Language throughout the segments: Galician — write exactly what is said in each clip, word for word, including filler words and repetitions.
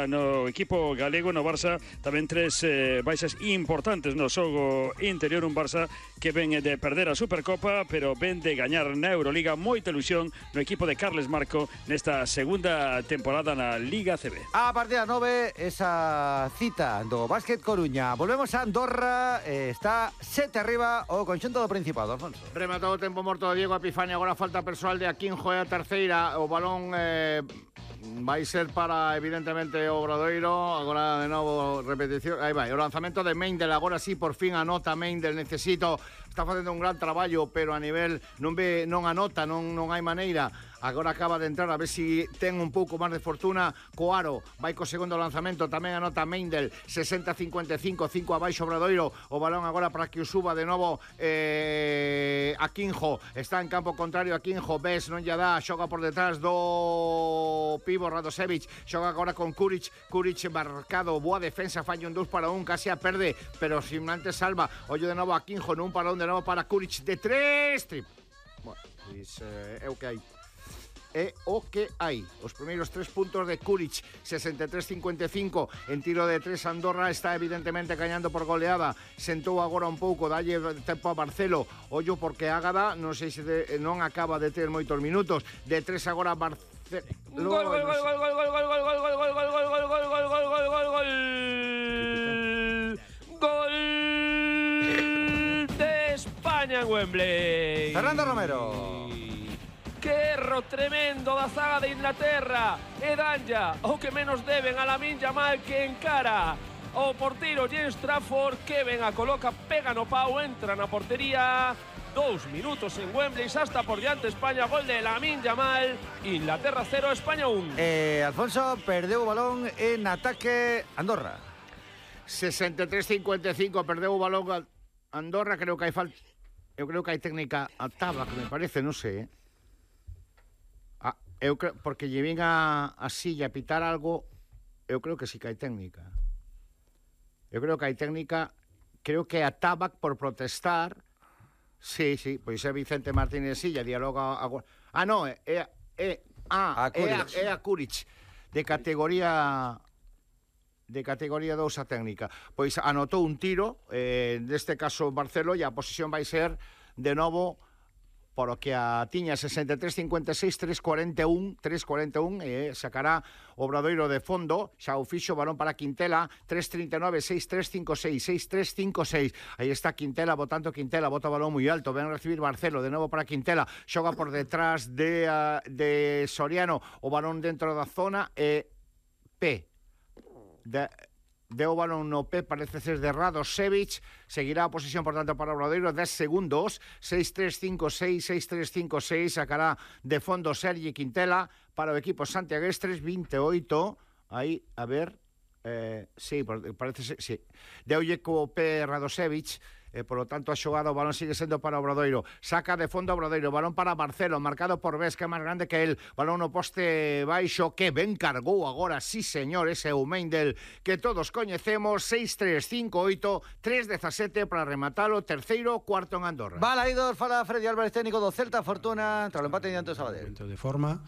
baixa no equipo galego, no Barça, tamén tres eh, baixas importantes no xogo interior, un Barça que ven de perder a Supercopa, pero ven de gañar na Euroliga. Moita ilusión no equipo de Carles Marco nesta segunda temporada na Liga C B. A partir das nove, esa cita do Básquet Coruña. Volvemos a Andorra, eh, está sete arriba o conxunto do Principado, Alfonso. Rematado o tempo morto de Diego Epifani, agora falta persoal de Aquinjo e a terceira, o balón eh, vai ser para, evidentemente, o Obradoiro. Agora, de novo, repetición, aí vai, o lanzamento de Meindel, agora sí, por fin anota Meindel, necesito, está facendo un gran traballo, pero a nivel, non ve, non anota, non, non hai maneira. Agora acaba de entrar, a ver si ten un pouco máis de fortuna. Coaro vai co segundo lanzamento, tamén anota Meindel, sesenta a cincuenta e cinco, cinco abaixo Obradoiro. O balón agora para que o suba de novo eh, Aquinjo, está en campo contrario Aquinjo, ves, non lle dá, xoga por detrás do pivo Radosevic, xoga agora con Kuric, Kuric marcado, boa defensa, falla un dos para un, casi a perde, pero sin antes salva. Ollo de novo Aquinjo, nun para un, de novo para Kuric, de tres, trip. Bueno, pois eh, é o que hai. É o que hai. Os primeiros tres puntos de Kuric, sesenta e tres a cincuenta e cinco. En tiro de tres, Andorra está evidentemente gañando por goleada. Sentou agora un pouco, dalle tempo a Barcelo. Ollo porque Ágada, non sei se de, non acaba de ter moitos minutos. De tres agora Barcelo. Gol, gol, gol, gol, gol, gol, gol, gol, gol, gol, gol, gol, gol, gol, gol, gol, gol, gol, gol, gol. Gol de España en Wembley. Fernando Romero. Que erro tremendo da zaga de Inglaterra. E danlla o que menos deben a Lamine Yamal, que encara o porteiro James Trafford, que ven a coloca, pega no pau, entra na portería. Dos minutos en Wembley, xa está por diante España. Gol de Lamine Yamal. Inglaterra cero, España un. Eh, Alfonso, perdeu o balón en ataque Andorra. sesenta e tres a cincuenta e cinco, perdeu o balón Andorra. Creo que hai falta, eu creo que hai técnica a Taba, que me parece, non sei, eh. Ah, eu creo, porque lle vin a, a silla a pitar algo, eu creo que sí que hai técnica. Eu creo que hai técnica, creo que a Tabac por protestar. Sí, sí, pois é Vicente Martínez Silla, dialoga agora. Ah, non, é é é ah, a é a, é a Kuric de categoría de categoría dous a técnica. Pois anotou un tiro, eh, neste caso Barcelo, e a posición vai ser de novo por o que a tiña sesenta e tres a cincuenta e seis, tres cuarenta e un, tres cuarenta e un, e sacará o Obradoiro de fondo, xa o fixo, balón para Quintela, tres trinta e nove, seis tres cinco seis, seis tres cinco seis. Aí está Quintela, botando Quintela, bota o balón moi alto, ven a recibir Barcelo, de novo para Quintela, xoga por detrás de, uh, de Soriano, o balón dentro da zona, e P. De... Deu o balón no P, parece ser de Radosevic. Seguirá a posición, por tanto, para Obradoiro, dez segundos, seis tres cinco seis, seis tres cinco seis. Sacará de fondo Sergi Quintela para o equipo santiaguestres, veintiocho. Aí, a ver, eh, sí, parece ser, sí. Deulle co P Radosevic, e, por lo tanto, a xogada, o balón sigue sendo para Obradoiro. Saca de fondo Obradoiro, balón para Barcelo, marcado por Ves, que é máis grande que el. Balón no poste baixo, que ben cargou agora, sí señor, ese é o Meindel que todos coñecemos. Seis tres cinco oito, tres dezasete para rematalo, terceiro, cuarto en Andorra. Balaídos, fala Freddy Álvarez, técnico do Celta Fortuna, tras o empate diante do Sabadell. De forma,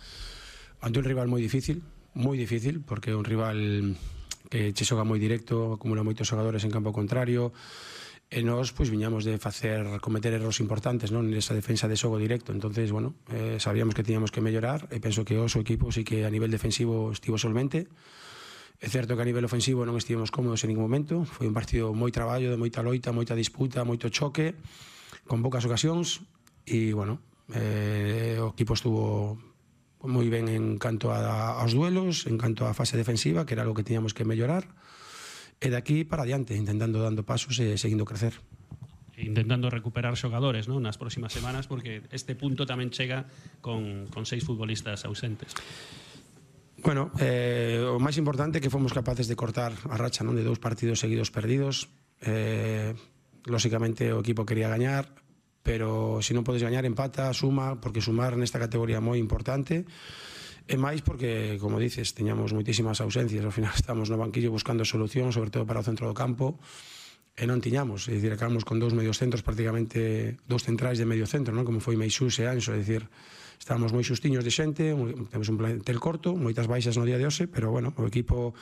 ante un rival moi difícil, moi difícil, porque é un rival que che xoga moi directo, acumula moitos xogadores en campo contrario. E nós, pois, viñamos de facer, cometer erros importantes, non, nesa defensa de xogo directo. Entonces, bueno, eh, sabíamos que tiñamos que mellorar, e penso que o seu equipo sí que a nivel defensivo estivo solvente. É certo que a nivel ofensivo non estivemos cómodos en ningún momento. Foi un partido moi traballo, de moita loita, moita disputa, moito choque, con poucas ocasións, e, bueno, eh, o equipo estuvo moi ben en canto a, aos duelos, en canto á fase defensiva, que era algo que tiñamos que mellorar. E de aquí para adiante, intentando dando pasos e seguindo crecer. Intentando recuperar xogadores, non, nas próximas semanas, porque este punto tamén chega con, con seis futbolistas ausentes. Bueno, eh, o máis importante é que fomos capaces de cortar a racha, non, de dous partidos seguidos perdidos. Eh, lóxicamente o equipo quería gañar, pero se non podes gañar, empata, suma, porque sumar nesta categoría é moi importante. E máis porque, como dices, teñamos moitísimas ausencias. Ao final estamos no banquillo buscando solucións, sobre todo para o centro do campo, e non tiñamos. É dicir, acabamos con dous medios centros, prácticamente dous centrais de medio centro, non, como foi Meixús e Anxo. É dicir, estábamos moi xustiños de xente, temos un plantel corto, moitas baixas no día de hoxe, pero, bueno, o equipo